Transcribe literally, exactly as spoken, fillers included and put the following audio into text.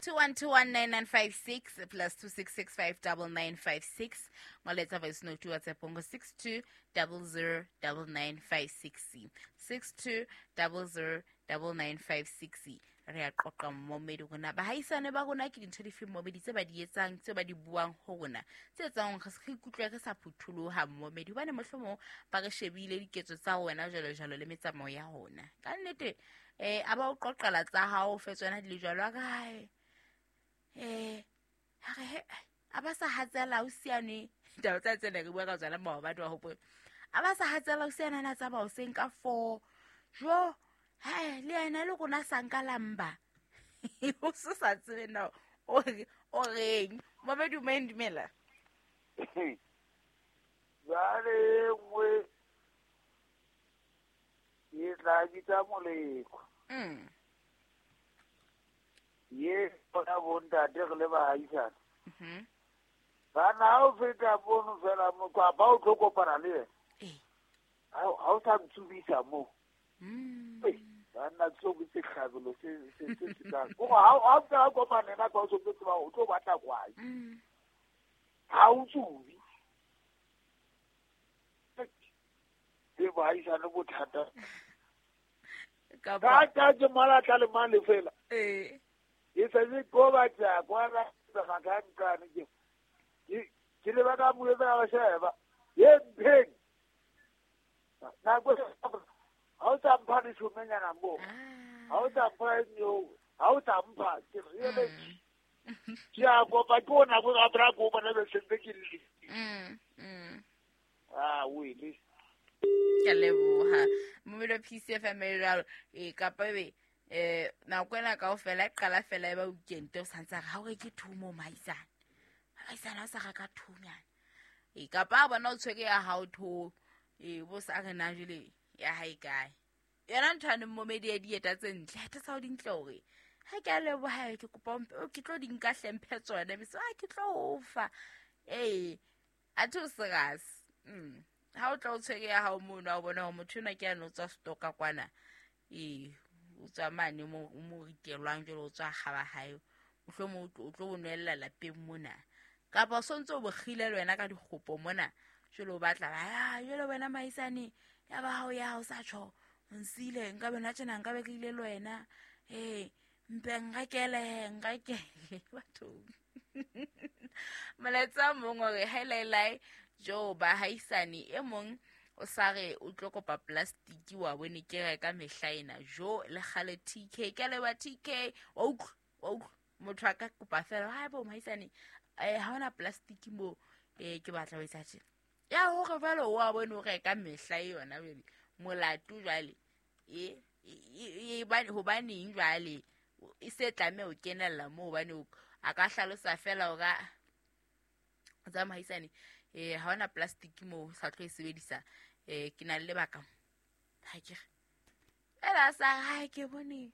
two one two one nine nine five six plus two six six five double nine five six. Ngoletsa voice note WhatsApp ngo six two double zero double nine five six six two double zero double nine five six. Re a qoqa mmomedi rona bahaisane ba rona ke dintho dife mmomedi tse ba di etsang tse ba di buang ho rona tse etsang re se ikutlwe re sa phutholoha mmomedi hobane mohlomong ba re shebile diketso tsa rona jwalo jwalo le metsamao ya rona ka nnete eh a ba o qoqela tsa hao fe tsona di le jwalo a kae eh ha re a ba sa hatsela o siane taba tsa tsena re bua ka tsona maobane wa hopola a ba sa hatsela o siana na tsa ba o seng ka four jo hai le yena le rona sa nka lamba o se sa tsebe na o o reng momedi o dumela jwale nngwe e tla bitsa moleko mm ye bona bontate re le baahisane mhm bana ha o feta mono fela motho ba o tlo kopana le yena eh ha o sa ntsubisa moo mm banna tso ke sehlabelo se se se se ka go ha ha o kopana na ka o tlo tseba o tlo batla kwae mm ha o tsubi ke baahisane bothata ka ka ka ke mala tla le mane fela eh e se se go batla kwa ra ga ka ntlane ke ke le ba ka mo etsa ba sheba ye mpheng na go ha o tsa mpha ditšhomenyana mo ha o tsa mpha nyo ha o tsa mpha ke re le ke a kopa ke ona go ga bra go bona be sentse ke le mm mm ah o ile ke leboha momelo P C F M jalo e kapa be eh nako ena kaofela e qala fela e ba weekend o santse ha o reke thumo maisane maisane a sa reka thunyana e kapa a bona o tshwere ya hao tho e bo sa re na jele ya hae kae yona ntho ane momedi ya dieta tse ntle ha tsa o dintle hore ha ke a leboha ke kopa ke tlo di nka hlemphe tsona be so a ke tlo o fa eh a tho serious mm ha o tla o tshwere ya hao mono a bona hore motho ena ke a no tswa stoka kwana e o tswa mane mo mo ritelwang jwalo o tswa gaba hae mohlomong o tlo o nwella lapeng mona kapa o sontse o bokgile le wena ka dikgopo mona jwalo o batla ba jwalo wena maisane ya ba hao ya hao sa tjho nsile nka bena tjena nka be ke ile le wena eh mpe nrekele nrekele batho molaetsa mong hore hailai jo ba haisane e mong o sa re o tlo kopa plastic wa bone ke reka mehla ena jo le kgale T K ke leba T K wa utlwa wa utlwa motho a ka kopa fela ha bo maisane eh ha ona plastic mo eh ke batla ho etsa tjena ya hore jwale o a bone o reka mehla yona jwale molato jwale e e hobaneng jwale e se tlameha ho kenella moo hobane a ka hlalosa fela hore tsa mahisane eh ha ona plastic mo sa tlo e sebedisa eh ke na le lebaka ha ke re ela sa ha ke bone